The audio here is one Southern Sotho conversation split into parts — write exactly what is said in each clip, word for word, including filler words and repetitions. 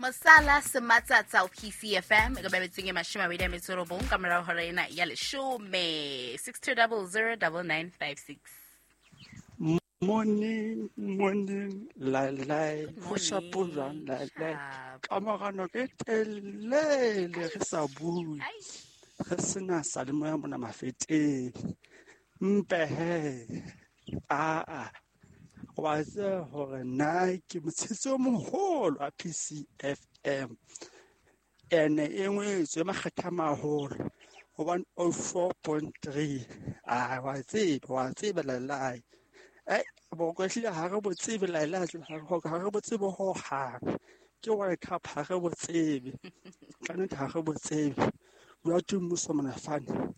Mosala Sematsatsa o P C F M e ka babetseng e mashome a mabedi a metso e robong ka morao hora ena ya leshome. Six two double zero double nine five six. Morning, morning, lai lai, ho shapo jwang lai lai. Kamorano ke telele re sa bue. Re sena sa le moya mona mafeteng. Mpe he. A a. Wa tseba hore nna ke motshetsi o moholo wa P C F M. Ene e ngwetswe makgetha a maholo ho one oh four point three. Ah, wa tseba, wa tseba lai lai. Eh, boroko ehlile ha re bo tsebe lai lai, ha re bo tsebe hohang. Ke World Cup ha re bo tsebe. Ka nnete ha re bo tsebe. Bua tu mmuso mona fane.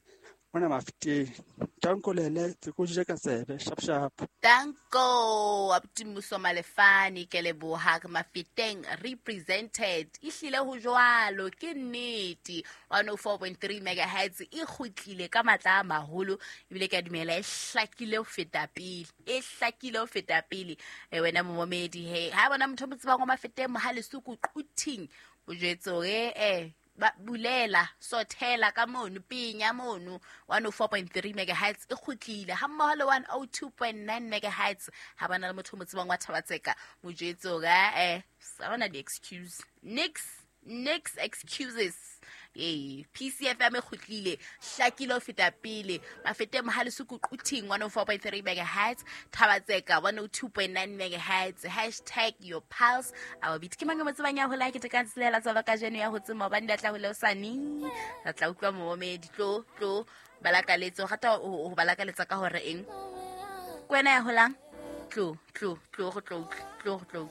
Mona mafeteng. Tanko lele, tse ko je ka tsebe, sharp sharp. Tanko, abuti mmuso Malefane, ke leboha ke mafeteng represented. Ehlile ho jwalo, ke nnete. one oh four point three megahertz e kgutlile ka matla a maholo, ebile ke a dumela e hlakile ho feta pele. E hlakile ho feta pele. E wena momedi he, ha bona motho o mo tsebang wa mafeteng mohale suku quthing, o jwetse hore eh ba bulela sothela ka mono pinya mono one oh four point three megahertz e kgutlile ha mmoho le one oh two point nine megahertz. Ha bana le motho o mo tsebang wa Thabatseka, mo jwetse hore eh sa bana di excuse nix nix excuses. Ee, P C F M e kgutlile hlakile ho feta pele. Mafete mohale suku quthing one oh four point three megahertz, Thabatseka one oh two point nine megahertz, hashtag your pulse. Our beat ke mang mo tsebang ya hola ke te ka tsela tsa ba kajeno ya ho tsema hobane di tla ho leosane. Re tla utlwa momedi tlo tlo balakaletso rata ho balakaletsa ka hore eng. Kwena ya holang tlo tlo tlo go tlo tlo go tlo.